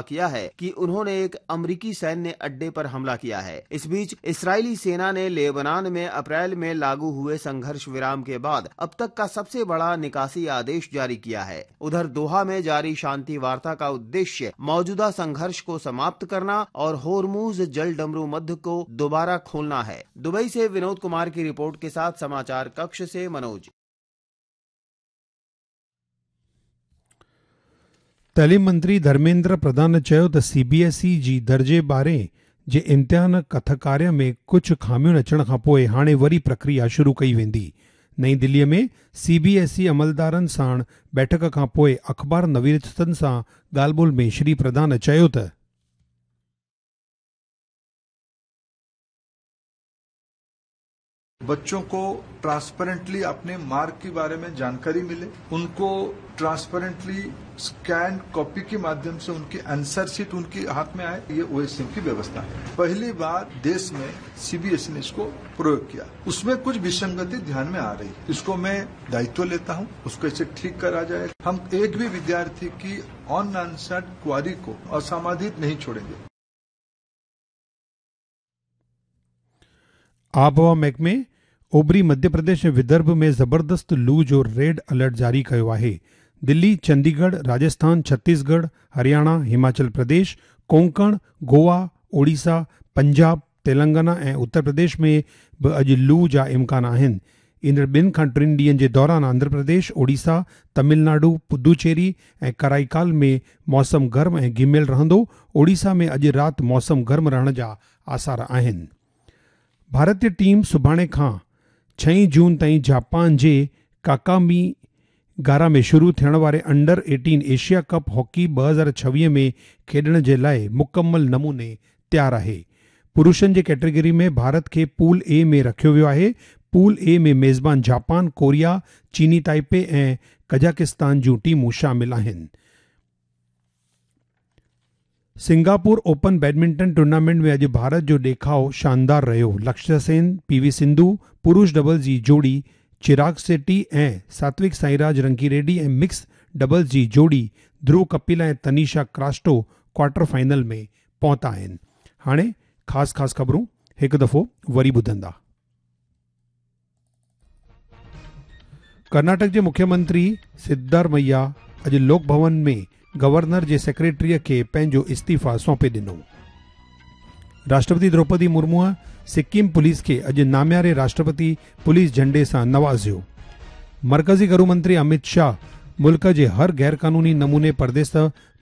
किया है कि उन्होंने एक अमरीकी सैन्य अड्डे पर हमला किया है। इस बीच इस्राएली सेना ने लेबनान में अप्रैल में लागू हुए संघर्ष विराम के बाद अब तक का सबसे बड़ा निकासी आदेश जारी किया है। उधर दोहा में जारी शांति वार्ता का उद्देश्य मौजूदा संघर्ष को समाप्त करना और होर्मुज जलडमरू मध्य को दोबारा खोलना है। दुबई से विनोद कुमार की रिपोर्ट के साथ समाचार कक्ष से मनोज। तालीम मंत्री धर्मेंद्र प्रधान चयो त सीबीएसई जी दर्जे 12 जे इम्तिहान कथकार्य में कुझु ख़ामियुनि अचण खां पोइ हाणे वरी प्रक्रिया शुरू कई वेंदी। नई दिल्लीअ में सीबीएसई अमलदारनि साण बैठक खां पोइ अख़बार नवीसनि सां ॻाल्हि ॿोल में श्री प्रधान चयो त बच्चों को ट्रांसपेरेंटली अपने मार्क के बारे में जानकारी मिले, उनको ट्रांसपेरेंटली स्कैन कॉपी के माध्यम से उनकी आंसर शीट उनके हाथ में आए, ये ओएसएम की व्यवस्था है। पहली बार देश में सीबीएसई ने इसको प्रयोग किया, उसमें कुछ विसंगति ध्यान में आ रही है, इसको मैं दायित्व लेता हूं, उसको ऐसे ठीक करा जाए। हम एक भी विद्यार्थी की अनआंसर्ड क्वारी को असमाधित नहीं छोड़ेंगे। आबहवा महकमे ओबरी मध्य प्रदेश ऐं विदर्भ में ज़बरदस्त लू जो रेड अलर्ट जारी कयो आहे। दिल्ली, चंडीगढ़, राजस्थान, छत्तीसगढ़, हरियाणा, हिमाचल प्रदेश, कोंकण, गोवा, ओडिशा, पंजाब, तेलंगाना ऐं उत्तर प्रदेश में बि अॼु लू जा इम्कान आहिनि। ईंदड़ 2 खां 3 ॾींहनि जे दौरान आंध्र प्रदेश, ओडिशा, तमिलनाडु, पुदुचेरी ऐं कराईकाल में मौसम गर्म ऐं घिमियल रहंदो। ओडिशा में अॼु राति मौसम गर्म रहण जा आसार आहिनि। भारतीय टीम सुभाणे खां 6 जून ताईं जापान जे काकामी गारा में शुरू थियण वारे अंडर 18 एशिया कप हॉकी 2026 में खेॾण जे लाइ मुकमल नमूने तयारु आहे। पुरुषनि जे कैटेगरी में भारत खे पूल ए में रखियो वियो आहे। पूल ए में मेज़बान जापान, कोरिया, चीनी ताइपे ऐं कजाकिस्तान जूं टीमूं शामिल आहिनि। सिंगापुर ओपन बैडमिंटन टूर्नामेंट में अॼु भारत जो ॾेखाव शानदार रहियो। लक्ष्य सेन, पीवी सिंधु, पुरुष डबल्स जी जोड़ी चिराग शेट्टी ऐं सात्विक साईराज रंकी रेड्डी ऐं मिक्स डबल्स जी जोड़ी ध्रुव कपिल ऐं तनीषा क्रास्टो क्वार्टर फाइनल में पहुता आहिनि। हाणे ख़ासि ख़ासि ख़बरूं हिकु दफ़ो वरी ॿुधंदा। कर्नाटक जे मुख्यमंत्री सिद्धारमैया अॼु लोक भवन में गवर्नर जे सेक्रेटरीअ खे पंहिंजो इस्तीफ़ा सौंपे ॾिनो। राष्ट्रपति द्रौपदी मुर्मूअ सिक्किम पुलिस खे अॼु नामियारे राष्ट्रपति पुलिस झंडे सां नवाज़ियो। मरकज़ी घरू मंत्री अमित शाह मुल्क जे हर ग़ैर कानूनी नमूने परदेस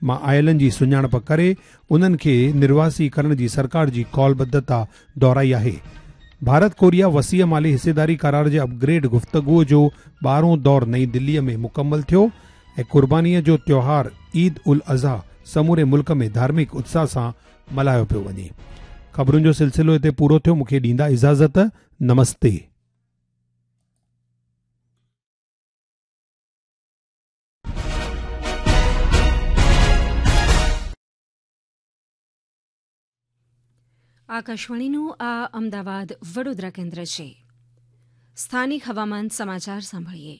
मां आयलनि जी सुञाणप करे उन्हनि खे निर्वासी करण जी सरकार जी कौलबद्धता दोहराई आहे। भारत कोरिया वसीअ माली हिस्सेदारी करार जे अपग्रेड गुफ़्तगूअ जो 12हों दौर नई दिल्लीअ में मुकमल थियो ऐं कुर्बानीअ जो त्योहार ईद उल अज़हा समूरे मुल्क में धार्मिक उत्साह सां मल्हायो पियो वञे। ख़बरुनि जो सिलसिलो हिते पूरो थियो। मूंखे ॾींदा इजाज़त। नमस्ते। આકાશવાણીનું આ અમદાવાદ વડોદરા કેન્દ્ર છે. સ્થાનિક હવામાન સમાચાર સાંભળીએ.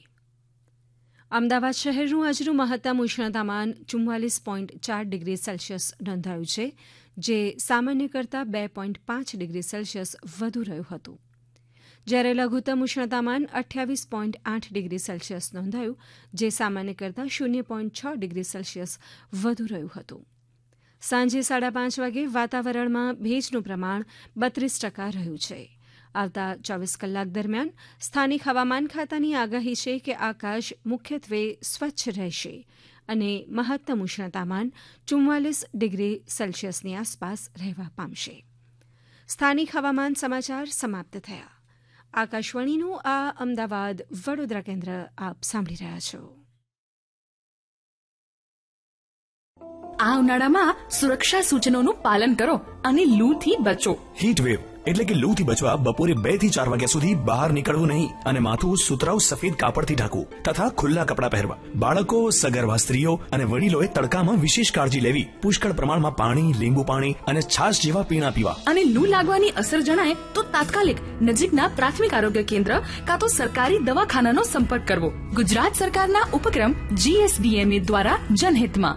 અમદાવાદ શહેરનું આજનું મહત્તમ ઉષ્ણતામાન 44.4 ડિગ્રી સેલ્સિયસ નોંધાયું છે, જે સામાન્ય કરતાં 2.5 ડિગ્રી સેલ્સિયસ વધુ રહ્યું હતું. જ્યારે લઘુત્તમ ઉષ્ણતામાન 28.8 ડિગ્રી સેલ્સિયસ નોંધાયું, જે સામાન્ય કરતાં 0.6 ડિગ્રી સેલ્સિયસ વધુ રહ્યું હતું. સાંજે 5:30 વાગે વાતાવરણમાં ભેજનું પ્રમાણ 32% રહ્યું છે. આવતા 24 કલાક દરમિયાન સ્થાનિક હવામાન ખાતાની આગાહી છે કે આકાશ મુખ્યત્વે સ્વચ્છ રહેશે અને મહત્તમ ઉષ્ણતામાન 44 ડિગ્રી સેલ્સિયસની આસપાસ રહેવા પામશે. સ્થાનિક હવામાન સમાચાર સમાપ્ત થયા. આકાશવાણીનું આ અમદાવાદ વડોદરા કેન્દ્ર આપ સાંભળી રહ્યા છો. આ ઉનાળામાં સુરક્ષા સૂચનોનું પાલન કરો અને લૂથી બચો. હીટ વેવ એટલે કે લૂથી બચવા બપોરે 2 થી 4 વાગ્યા સુધી બહાર નીકળવું નહીં અને માથું સુતરાઉ સફેદ કાપડથી ઢાંકવું તથા ખુલ્લા કપડાં પહેરવા. બાળકો, સગર્ભા સ્ત્રીઓ અને વડીલોએ તડકામાં વિશેષ કાળજી લેવી. પુષ્કળ પ્રમાણમાં પાણી, લીંબુ પાણી અને છાશ જેવા પીણા પીવા. અને લૂ લાગવાની અસર જણાય તો તાત્કાલિક નજીકના પ્રાથમિક આરોગ્ય કેન્દ્ર કાં તો સરકારી દવાખાનાનો સંપર્ક કરવો. ગુજરાત સરકારના ઉપક્રમ જીએસડીએમએ દ્વારા જનહિતમાં.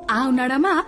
આ ઉનાળામાં.